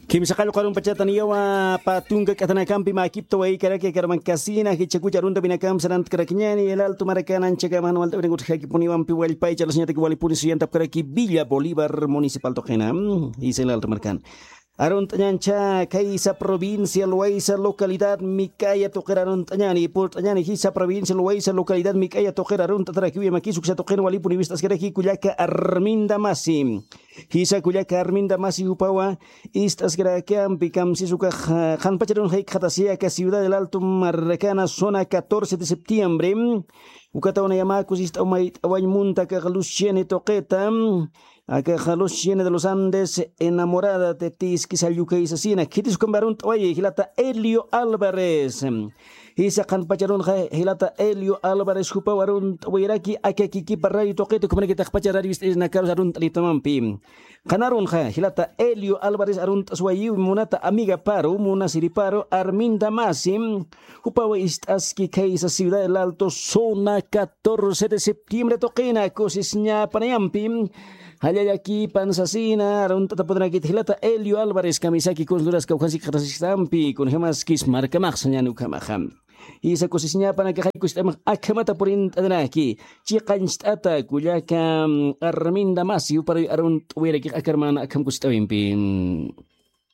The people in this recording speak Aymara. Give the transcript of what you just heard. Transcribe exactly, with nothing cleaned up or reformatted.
Kimsa qallqu arumpachata niyawa, pä tunka k'atanakampi mäkipta waykaraki akarmankasina jichhakucha arunta winakampi sarantkarakñani. El Alto markan anchhakama jan walt'awinakutx jakipuniwampi wallpaycha lasñataki walipuni suyantapkaraki Villa Bolívar municipal tuqina. Jisa El Alto markan arunt'añancha khaysa provincia Loayza localidad Mik'aya tuqir arunt'añani, purt'añani jisa provincia Loayza localidad Mik'aya tuqir arunt'atarakiwi, makis uksa tuqin walipuni wist'askaraki kullaka Arminda Masi. Jisa kullaka Arminda Masi jupawa ist'askarakampi kamsis ukax qhanpacharun jaykxatasi aka Ciudad del Alto markana zona catorce de septiembre. Ukataw nayamäkus ist'aw mayt'awañ munta akax Luciene tuqita, akax Luciene de los Andes, enamorada de ti iskisa llukay sasina. Khitis ukampi arunt'awayi jilata Elio Álvarez. Jisa qhanpacharunxa jilata Elio Álvarez jupaw arunt'awayiraki aka kikipa radio tuqita, ukhamanakitaxpacha radio ist'irinakarus arunt'anitamampi. Qhanarunxa jilata Elio Álvarez arunt'aswayiw munata amigaparu munasiriparu Arminda Masi. Jupaw ist'aski khaysa Ciudad del Alto zona catorce de septiembre tuqina kusisñapanayampi. Jallallaki pansasina arunt'ataputanakit jilata Elio Álvarez kamisaki kunsluraska ukhasi qhatasistampi kunjamaskis markamaxsañani ukhamaxa. Jisa kusisñapanakaxay kust'amax akhamata purint'aniraki. Chiqañcht'ata kullaka Arminda Masi juparuy arunt'awirakix akarmana akham kust'awimpi.